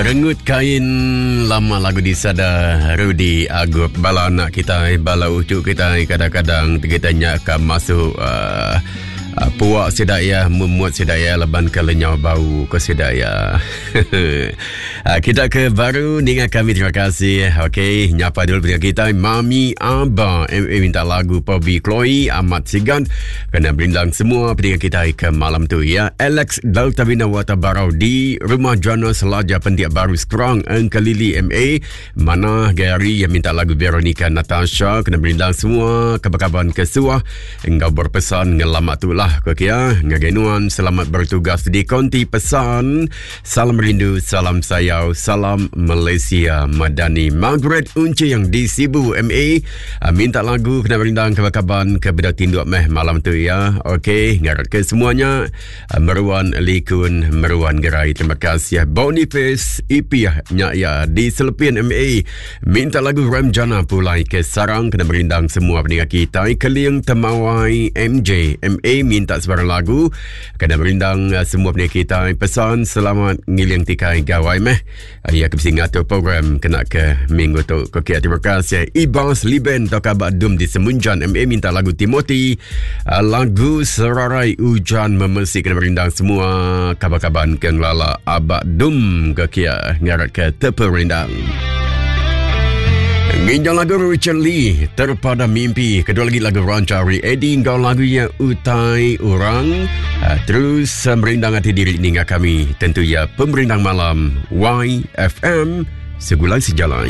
Rengut kain lama lagu disada Rudy Agup. Bala anak kita, bala ucu kita kadang-kadang kita nya ka masuk uh, uh, puak sida ya, memut sida ya laban ke lenyau bau ke sida ya. uh, kita ke baru ninga kami terima kasih. Okey, nyapa dulu dengan kita Mami Aba MA minta lagu Pobi Chloe Amat Sigan kena berindang semua pendengar kita ke malam tu ya. Alex Delta Bina Wata Barau di Rumah Jana Selaja Pendiak Baru Skrang Engkelili MA. Mana Gary yang minta lagu Veronica Natasha kena berindang semua kaban-kaban ke suah enggau berpesan ngelamat tu lah ke kia. Ngagai nuan selamat bertugas di konti pesan. Salam rindu, salam sayau, salam Malaysia Madani. Margaret Unci yang di Sibu MA ah, minta lagu kena berindang kaban-kaban ke beda tinduk meh malam tu ya. Okey, ngarap ke semuanya Meruan Likun Meruan Gerai. Terima kasih Boniface Ipiah nya ya di Selepin MA. Minta lagu Ramjana pulai ke sarang kena merindang semua pendengar kita. Keling Temawai MJ MA minta sebarang lagu kena merindang eh, semua pendengar kita. Pesan selamat ngiling tikai gawai meh. Ya ke bisi ngatur program kena ke minggu tu. Okey, terima kasih. Ibas Liben atau kabar Dum di Semunjan MA minta lagu Timothy. Ah, lagu Serarai Hujan Memesi kena merindang semua kabar-kabar ke ngelala Abak Dum ke kia ngarat ke terperindang. Nginjau lagu Richard Lee Terpada Mimpi Kedua lagi lagu Rancari Eddie Engkau lagunya Utai Orang uh, Terus uh, merindang hati diri ninga kami Tentu ya Pemerindang Malam YFM Segulai Sejalai.